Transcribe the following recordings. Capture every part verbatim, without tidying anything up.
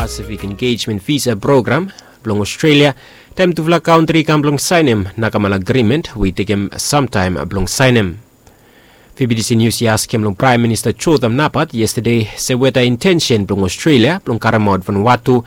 Pacific Engagement Visa Program blong Australia, taem tufala kantri i kam blong saenem nakamal agrimen we i tekem samtaem blong saenem. Fibidisi Nius i askem long Praem Minista Jotham Napat yestade se weta intensen blong Australia blong karemaot Vanuatu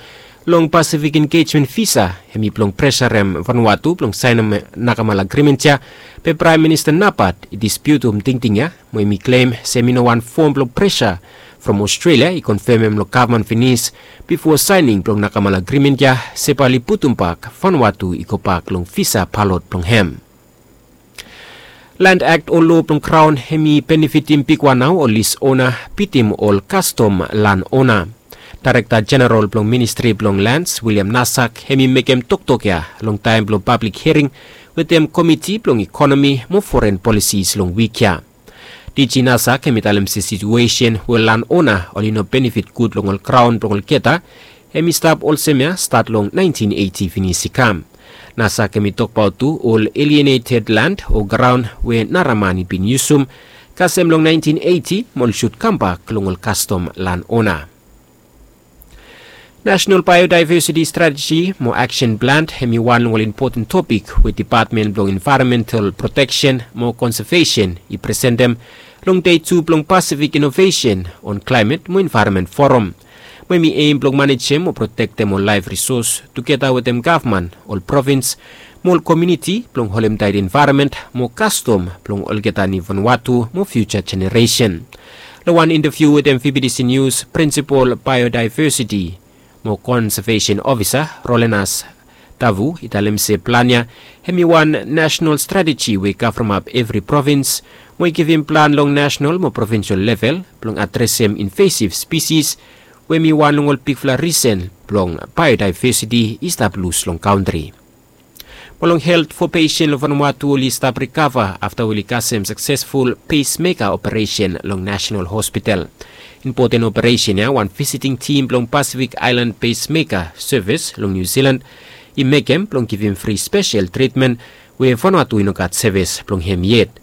long Pacific Engagement Visa hem i blong presarem Vanuatu blong saenem nakamal agrimen ya. Be Praem Minista Napat i dispiutum tingting ya, mo hem i klem se hem i no wan fom blong presa from Australia i konfemem long gavman finis bifo saening blong nakamal agrimen ya se bae oli putumbak Vanuatu i gobak long visa palot blong hem. Land Act o loa blong Kraon hem i benefitim bigwan nao ol lis ona bitim ol kastom lan ona. Daerekta Jeneral blong Ministri blong Lands, William Nasak, hem i mekem toktok ya long taem blong pablik hiering wetem Komiti blong Ikonomi mo Foren Polisis long wik ya. Diji Nasak hem i talem se situesen we lan ona oli no benefit gud long ol graon blong olgeta hem i stap olsem ya stat long naentin eiti finis i kam. Nasak hem i tokbaot tu ol alieneted land o graon we nara man i bin yusum kasem long naentin eiti mo oli sud kambak long ol kastom lan ona. National Biodiversity Strategy mo Action Plan hem i wan long ol impoten topik we Depatmen blong Envaeronmental Proteksen mo Konsevesen i presentem long dei tu blong Pacific Innovation on Climate mo Envaeronment Forum. Mo hem i aim blong manejem mo protektem ol laef risos tugeta wetem gavman, ol provins mo ol komuniti blong holem taet envaeronment mo kastom blong olgeta ni Vanuatu mo fiuja jeneresen. Long wan intaviu wetem V B T C News, Prinsipol Biodiversiti mo Konsevesen Ofisa Rolenas Tavu i talem se plan ya hem i wan nasenal strateji we i kavremap evri provins mo i givim plan long nasenal mo provinsol level blong adresem invasiv spisis we hem i wan long ol bigfala risen blong biodiversiti i stap lus long kantri. Mo long helt, fo pesen long Vanuatu oli stap rikava afta oli kasem saksesful pacemaker operesen long National Hospital. Impoten operesen ya wan visiting tim blong Pacific Island Pacemaker Service long New Zealand i mekem blong givim fri spesel tritmen we Vanuatu i no gat sevis blong hem yet.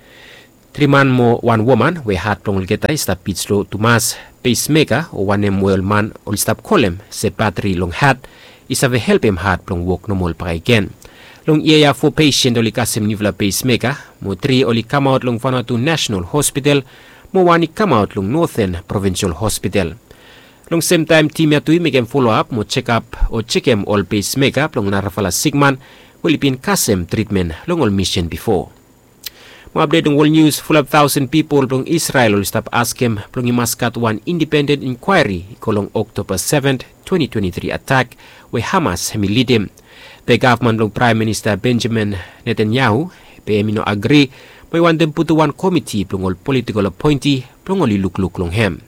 Tri man mo wan woman we hat blong olgeta i stap bit slo tumas, pacemaker o wanem we ol man oli stap kolem se batri long hat, i save helpem hat blong wok nomol bakegen. Long yia ya fo pesen oli kasem niufala pacemaker mo tri oli kamaot long Vanuatu National Hospital mo wan i kamaot long Northern Provincial Hospital. Long semtaem tim ya tu i mekem foloap mo jekap o jekem ol pacemaker blong narafala sikman we oli bin kasem tritmen long ol misen bifo. Mo apdet long wol nius, fulap taosen pipol blong Isrel oli stap askem blong i mas gat wan indipenden inkwaeri i go long Oktoba seven, twenty twenty-three atak we Hamas hem i lidim. Be gavman blong Praem Minista Benjamin Netanyahu be hem i no agri mo i wantem putum wan komiti blong ol politikol apoenti blong oli lukluk long hem.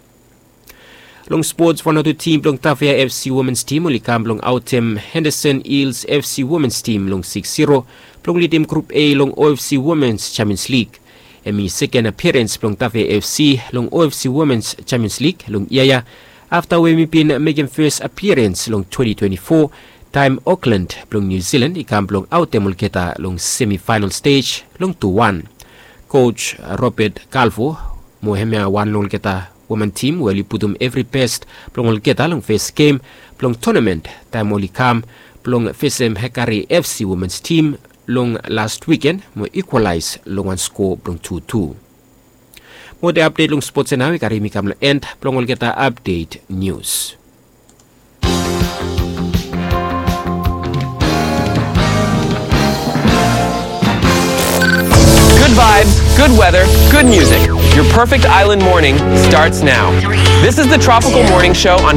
Long spots, Vanuatu tim blong Tafea F C womens tim oli kam blong aotem Henderson Hills F C womens tim long six zero blong lidim Grup A long O F C Womens Champions League. Hem i seken apiarens blong Tafea F C long O F C Womens Champions League long yia ya afta we hem i bin mekem fes apiarens long twenty twenty-four taem Auckland blong New Zealand i kam blong aotem olgeta long semifaenal stej long tu wan. Koj Robert Calvo mo hemia wan long olgeta women tim we oli putum evri bes blong olgeta long fes gem blong tonamen taem oli kam blong fesem Hekari F C womens tim long las wiken mo ikwalaes long wan skoa blong tu tu. Mo olgeta apdet long spots ya nao i karim mi kam long en blong olgeta apdet nius. Good vibes, good weather, good music. Your perfect island morning starts now. This is the Tropical Morning Show on